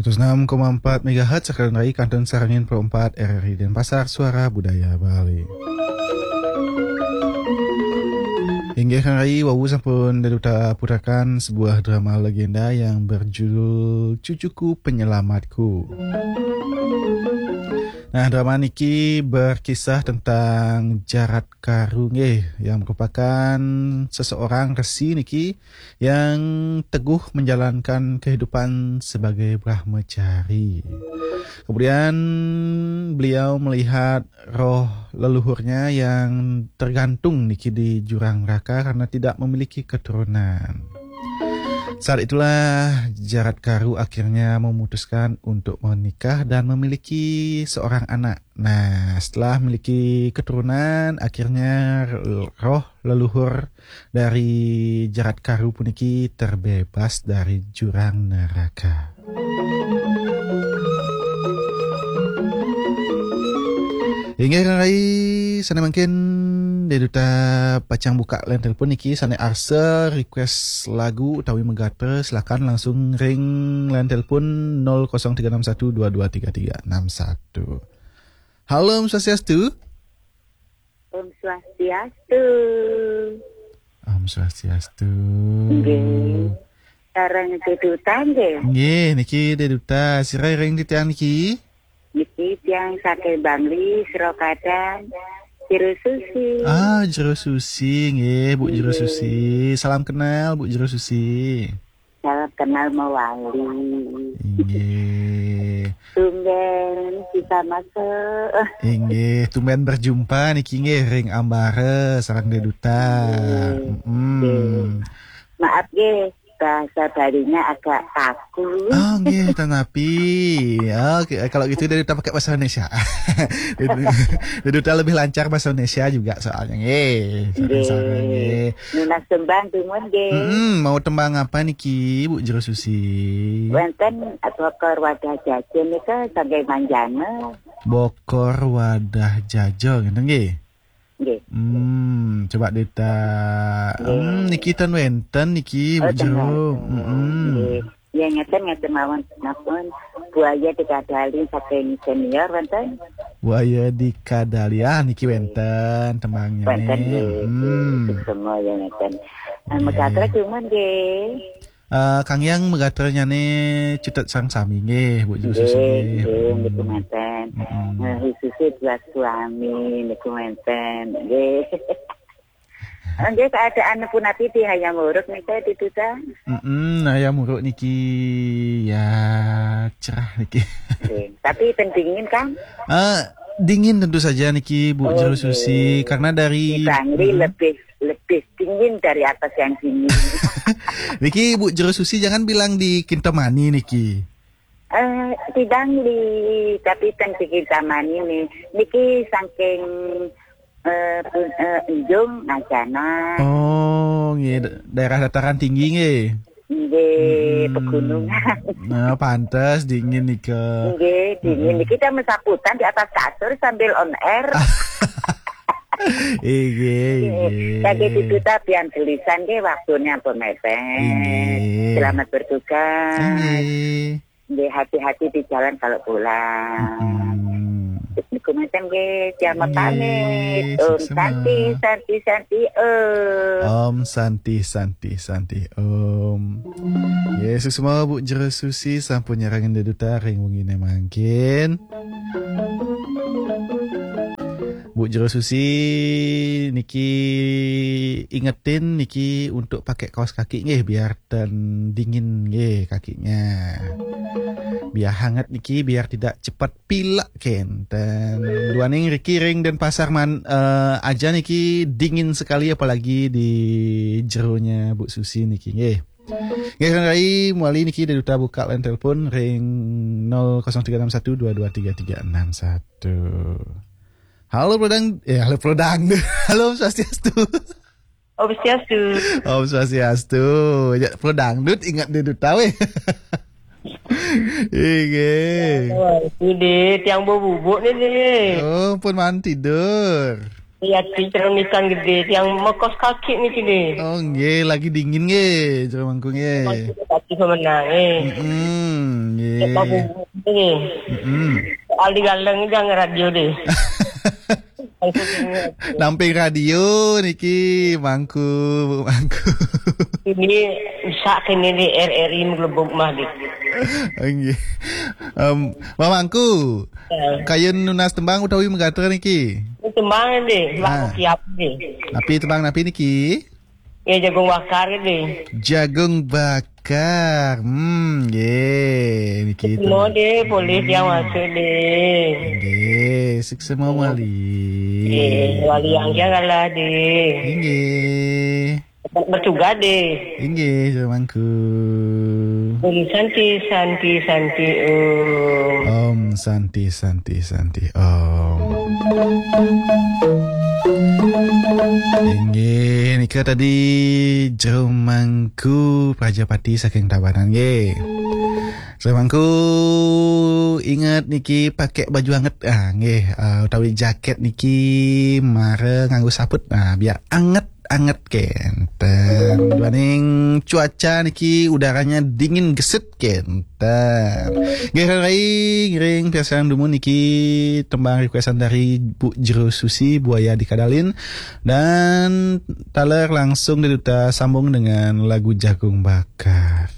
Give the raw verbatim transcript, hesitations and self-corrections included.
Seratus enam koma empat megahertz, sekalian rai kantun sareng nyen puluh empat R R I Denpasar, Suara Budaya Bali. Inggih, Kang Rai, wau sampun Deduta putakan sebuah drama legenda yang berjudul Cucuku Penyelamatku. Nah, drama niki berkisah tentang Jarat Karu nggih, yang merupakan seseorang resi niki yang teguh menjalankan kehidupan sebagai brahmacari. Kemudian beliau melihat roh leluhurnya yang tergantung niki di jurang neraka karena tidak memiliki keturunan. Saat itulah Jarat Karu akhirnya memutuskan untuk menikah dan memiliki seorang anak. Nah, setelah memiliki keturunan, akhirnya roh leluhur dari Jarat Karu puniki terbebas dari jurang neraka. Inggih, Kang Rai, sane mangkin Deduta pacang buka line telepon niki, sane arsa request lagu utawi megatra, silakan langsung ring line telepon nol kosong tiga enam satu dua dua tiga tiga enam satu. Halo, Om Swastiastu. Om Swastiastu. Om Swastiastu. Nggih. Sareng Deduta nggih. Nggih, niki Deduta. Sira ring titiang niki? Niki tiang saking Bangli, Srokadan, Jero Susi. Ah, Jero Susi, nggih, Bu Jero Nggih. Susi. Salam kenal, Bu Jero Susi. Salam kenal mewali. Inggih. Tumben bisa masuk. Inggih, tumben berjumpa niki nggih ring ambara sareng Deduta. Nggih. Mm-mm. Nggih. Maaf nggih, bahasa Balinya agak kaku. Oh, nggih, tanapi. Oke, kalau gitu Deduta pakai bahasa Indonesia. Deduta lebih lancar bahasa Indonesia juga soalnya nggih. Sareng-sareng Nggih. Nggih. Nunas tembang dumun nggih. Mm-mm, mau tembang apa niki, Bu Jero Susi? Wenten Bokor Wadah Jaja nika saking Manjana. Bokor Wadah Jaja, ngenten nggih? Nggih. Hmm, coba Deduta. Nggih. Hmm, niki ten wenten niki, Bu Oh, ten Jero. Wenten. Mm-mm. Nggih. Ya, ngeten, ngeten mawon. Napa? Buaya Dikadali saking senior wenten? Buaya Dikadali. Ah, niki wenten tembangnya Wenten nih. Nggih. Hmm. Suksema ya ngeten. Nah, Nggih. Megatra dumun nggih. Eh, Kang Yang megatranya nih Cutet Sareng Sami nggih, Bu Jero Susi Nggih, nggih. Nggih, niku Hmm. Menten. Mm-mm. Nah, khususnya buat suami niku menten. Nggih. Nggih, keadaan punapi di Hayam Wuruk nika, Deduta? Mm-mm, Hayam Wuruk niki ya cerah niki. Nggih. Tapi ten dingin kan? Eh, dingin tentu saja niki, Bu Oh, Jero Susi, nggih. Karena dari Di Bangli Mm-mm. lebih, lebih dingin dari atas yang dingin. Niki Bu Jero Susi jangan bilang di Kintamani niki. Eh, di Bangli, tapi ten di Kintamani nih. Niki saking, eh, pun-, eh, Enjung, Ngajana. Oh, nggih, da-, daerah dataran tinggi nggih. Nggih, Mm-mm. Pegunungan. Nah, pantes dingin nika. Nggih, dingin. Mm-mm. Kita mesaputan di atas kasur sambil on air. Inggih, Nggih. Inggih. Kaki Deduta pian gelisan nggih, waktunya pun mepet. Inggih. Selamat bertugas. Inggih. Nggih, hati-hati di jalan kalau pulang. Mm-mm. Niku menten nggih, tiang Inggih, pamit. Om suksema. Santi, Santi, Santi, Om. Om Santi, Santi, Santi, Om. Nggih, suksema Bu Jero Susi sampun nyarengin Deduta ring wengine mangkin. Bu Jero Susi niki ingetin niki untuk pakai kaos kaki nggih biar ten dingin nggih kakinya. Biar hangat niki biar tidak cepat pilek kenten. Duaning riki ring Denpasar man-, eh, aja niki dingin sekali apalagi di jeronya Bu Susi niki nggih. Nggih, Kang Rai, mawali niki Deduta buka line telepon ring nol kosong tiga enam satu dua dua tiga tiga enam satu. Halo, Bro Dang-, eh, halo, Bro Dangdut. Halo, Om Swastiastu. Om Swastiastu. Om Swastiastu. Ya, Bro Dangdut ingat Deduta weh. Inggih. Wah, itu deh, tiang bau bubuk nih, nih. Oh, pun man tidur. Iya, ti cerunikan gedé, tiang mekos kaki niki deh. Oh, nggih, lagi dingin nggih, Jero Mangku nggih. Kaki pemenang, eh. Mm-mm, nggih. Cek babu, eh. Mm-mm. Soal di galeng jangan radio deh. Mangku dingin. Namping radio niki, Mangku, Mangku. Ini bisa kene di R R I menggelebok mah deh. Nggih. Em, Mamangku, Ya. Kayun nunas tembang utawi megater niki? Ini tembang deh, Ah. Bang Kiap deh. Napi tembang napi niki? Ya, jagung bakar deh. Jagung bakar. Hmm, nggih, niki Semua tembang. Deh, boleh dia masuk deh. Nggih, sukses mau wali. Nggih, wali yang janganlah deh. Nggih. Bertugas deh. Inggih, Jero Mangku. Om Santi, Santi, Santi, Om. Om Santi, Santi, Santi, Om. Inggih, nika tadi Jero Mangku Prajapati saking Tabanan, nggih. Jero Mangku, inget niki pakai baju anget, ah, nggih, ah, utawi jaket niki mara nganggo saput, ah, biar anget anget kenten. Duaning cuaca niki udaranya dingin gesit kenten. Nggih, Rai, ngiring piarsang dumun niki tembang requestan dari Bu Jero Susi, Buaya di Kadalin. Dan taler langsung diduta sambung dengan lagu Jagung Bakar.